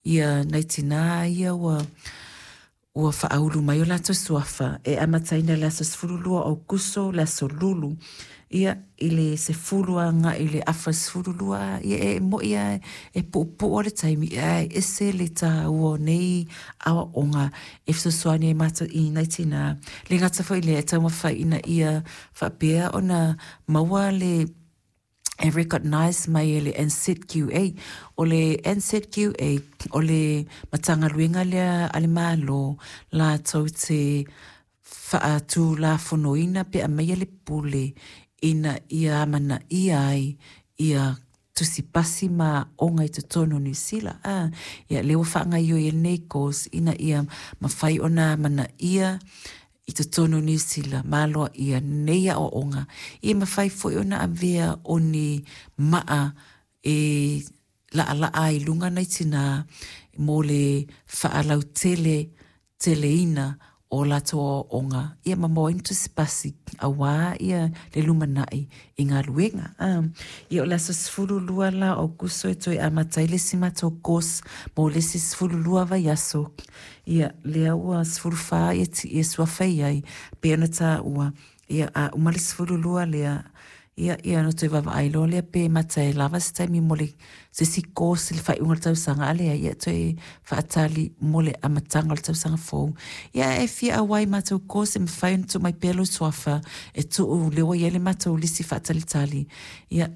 Ia nai tinā ia ua ua faaulu mai o latou suafa e amataina i le aso 12 o Aokuso, le aso Lulu, ia, i le 10 agai i le 12:30, ia e mo'i lava e puupuu lava le taimi, ae ese le taua o nei aoaoga e fesoasoani ai matou i nai tinā. E le gata foi i lea, e taumafai ina ia faapea ona maua le e recognise mai e le NZQA. O le NZQA, o le Matagaluega lea a le Malo latou te faatulafonoina pe aumaia le pule ina ia amanaia ai ia tusi pasi ma aoga i totonu o Niu Sila. A, ia lea ua faagaoioi ai lenei course ina ia mafai ona amanaia i totonu o Niu Sila ma aloaia nei aoaoga, ia mafai foi ona avea o ni maa e laalaa ai i luga nai tinā mo le faalautele teleina o latou aoaoga, ia ma maua ai ni tusipasi aua ia le lumanai i galuega. Ia o le aso 12 la o Aokuso e toe amata ai le isi matou course mo le isi 12 vaiaso. Ia, lea ua 14 ia, ia suafa i ai, pei ona taua, ia, a uma le 12 lea, ia, ia ona toe vaavaai loa lea pe mata e lava se taimi mo le se isi course i le faaiuga o le tausaga, a leai, ia toe faatali mo le amataga o le tausaga fou. Ia, e fia auai i matou course e mafai ona tuu mai pea lou suafa e tuu, lea ua i ai le matou lisi faatalitali, ia,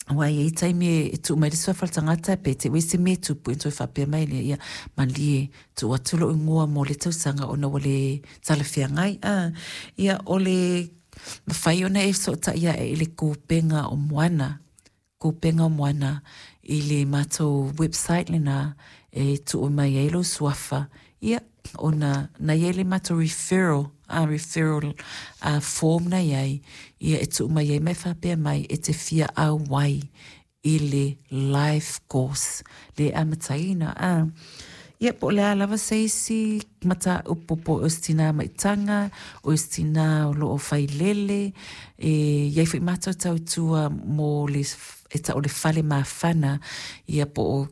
aua e i ai taimi e tuu mai le suafa o le tagata pe te i ua i ai se mea e tupu ona toe faapea mai lea, ia malie, tuu atu lou igoa mo lea tausaga ona ua le talafeagai. A, ia, o le mafai ona e fesootai ae i le Kupenga o Moana, Kupenga o Moana i le matou website lena e tuu mai ai lou suafa, ia, ona na i ai le matou referral, a referral a form na i ai, ia e tuu mai ai ma e faapea mai e te fia auai i le life course le amataina. A, ia po o le a lava se isi mataupu po o se tinā maitaga, o se tinā o lo o failele, e i ai foi matou tautua mo le e tau o le fale mafana, ia po o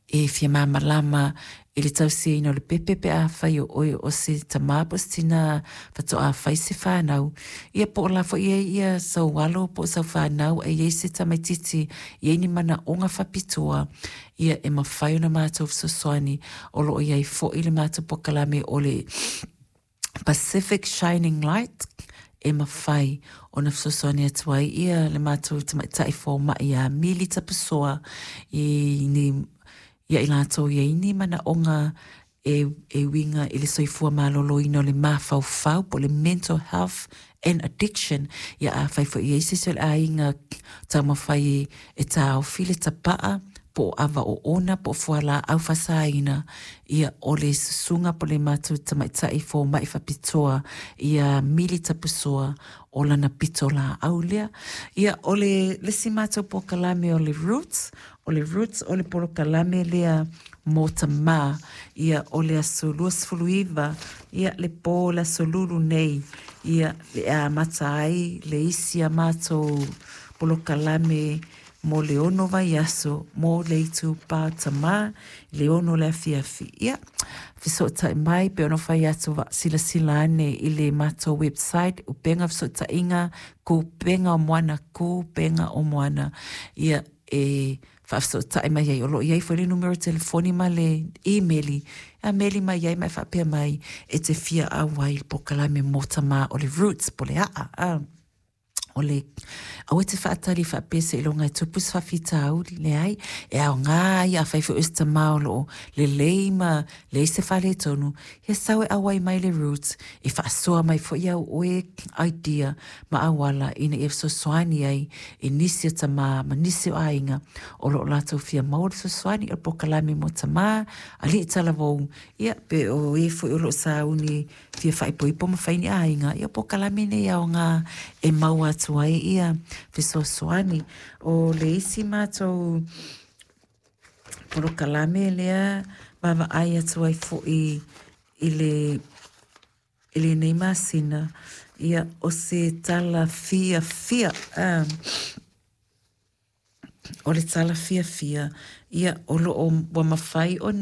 e fia malamalama i le tausiaina o le pepe pe afai o oe o se tama po o se tinā faatoa fai se fanau, ia po o la foi e i ai ia sou alo po o sau fanau a i ai se tamaitiiti e i ai ni manaoga faapitoa, ia e mafai ona matou fesoasoani. O lo o i ai foi le matou polokalame o le Pacific Shining Light e mafai ona fesoasoani atu ai ia le matou tamaitai fomai ia Mili Tapusoa i ni ia i latou i ai ni manaoga e, e uiga i le soifua maloloina o le mafaufau po o le mental health and addiction. Ia afai foi e i ai se isi o le aiga taumafai e taofi le tapaa po o ava oona po o fualaau faasaina, ia o le susuga po o le matou tamaitai fomai faapitoa ia Mili Tapusoa o lana pitolaau lea. Ia o le isi matou polokalame o le Roots, o le Roots o le polokalame lea mo tamā, ia o le aso 29, ia le po o le aso Lulu nei, ia e amata ai le isi a matou polokalame mo le ono vaiaso mo le itupa o tamā i le 6 o le afiafi. Ia, fesootai mai pe ono fai atu silasila ane i le matou website, Upega Fesootaiga, Kupenga o Moana, Kupenga o Moana, ia, e faafesootai mai ai. O lo o i ai foi le numera telefoni ma le imeli, e meli mai ai ma e faapea mai e te fia auai i le polokalame mo tamā o le Roots po o le aa. A. O le, aua e te faatali faapea seiloga e tupu se faafitauli, leai, e aoga ai afai foi o se tamā o lo o lelei ma leai se faaletonu, ia sau e auai mai le Roots, e faasoa mai foi au oe idea ma auala ina ia fesoasoani ai i nisi o tamā ma nisi o aiga o lo o latou fia maua le fesoasoani o le polokalame mo tamā, alii talavou, ia pe o e foi o lo o sauni fia faaipoipo ma fai ni aiga, ia o polokalame nei aoga e maua atu ai ia fesoasoani. O le isi matou polokalame lea vaavaai atu ai foi i le i lenei masina, ia o se tala fiafia, o le tala fiafia, ia o lo o ua mafai ona